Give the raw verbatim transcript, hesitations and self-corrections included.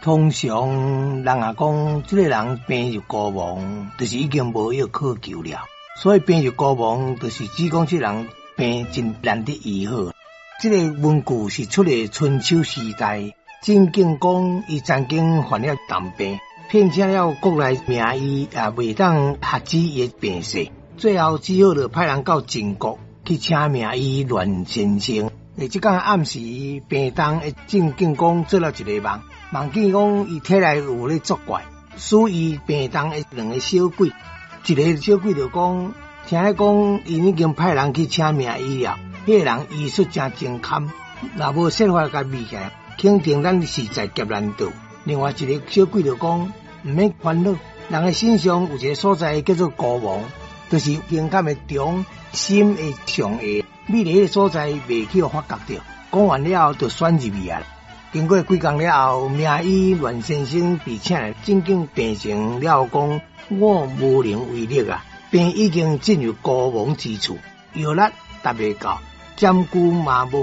通常人若講這個人病入膏肓，就是已經無藥可救了。所以病入膏肓，就是指講這人病真難得醫好。這個文句是出自春秋時代，晉景公伊曾經患了重病，聘請了國內名醫也袂當遏止伊的病勢，最後只好就派人到晉國去請名醫欒先生。欸，這工暗時病重的晉景公做了一個夢，夢見講伊體內有咧作怪，使伊病重的兩個小鬼，一個小鬼就講，聽咧講𪜶已經派人去請名醫了，彼個人醫術誠精堪，若無設法共醫起來，肯定咱是在劫難逃。另外一個小鬼就講，毋免煩惱，人的身上有一個所在叫做膏肓，就是胸坎的中，心的上下。美麗的所在袂去予發覺著，講完了後就選入去啊。經過幾工了後，名醫欒先生被請來診見病情了後，講我無能為力啊，病已經進入膏肓之處，藥力達袂到，針灸嘛無。